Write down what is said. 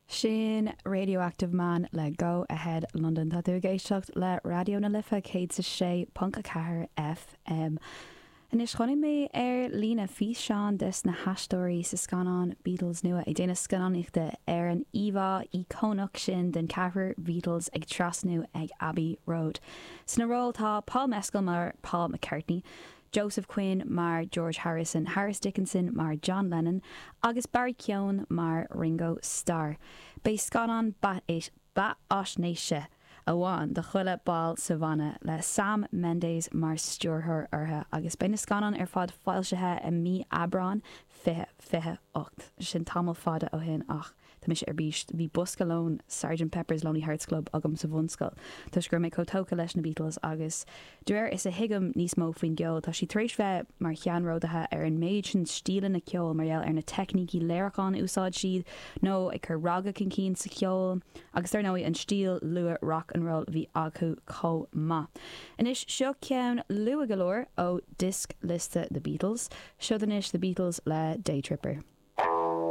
Sin Radioactive Man le Go Ahead London. Tá tú ag éisteacht le Raidió na Life 106.4 FM. Anois chonaic mé ar líne físeán des na haisteoirí sa scannán Beatles nua ag déanamh scannánaíochta ar an íomhá íocónach sin den ceathrar Beatles ag trasnú ag Abbey Road. Sna róil tá Paul Mescal mar Paul McCartney, Joseph Quinn mar George Harrison, Harris Dickinson mar John Lennon agus Barry Keoghan mar Ringo Starr. Beidh scannán beathaisnéise amháin do chuile ball sa bhanna, le Sam Mendes mar stiúrthóir orthu, agus beidh na scannáin ar fad foilsithe i mí Aibreáin 2028. Sin tamall fada ó shin ach. Tá mise ar bís. Bhí bosca lóin Sergeant Pepper's Lonely Hearts Club agam sa bhunscoil toisc go raibh mé chomh tógtha leis na Beatles agus de réir is a thuigim níos mó faoin gceol, tá siad tar éis bheith mar cheannródaithe ar an méid sin stíleanna ceoil mar gheall ar na teicnící léiriúcháin a úsáid siad nó ag cur raga chun cinn sa cheol agus dar ndóigh an stíl luath rock and roll a bhí acu chomh maith. Anois seo ceann luath go leor ó diosc liosta The Beatles. Seod anois The Beatles le Day Tripper.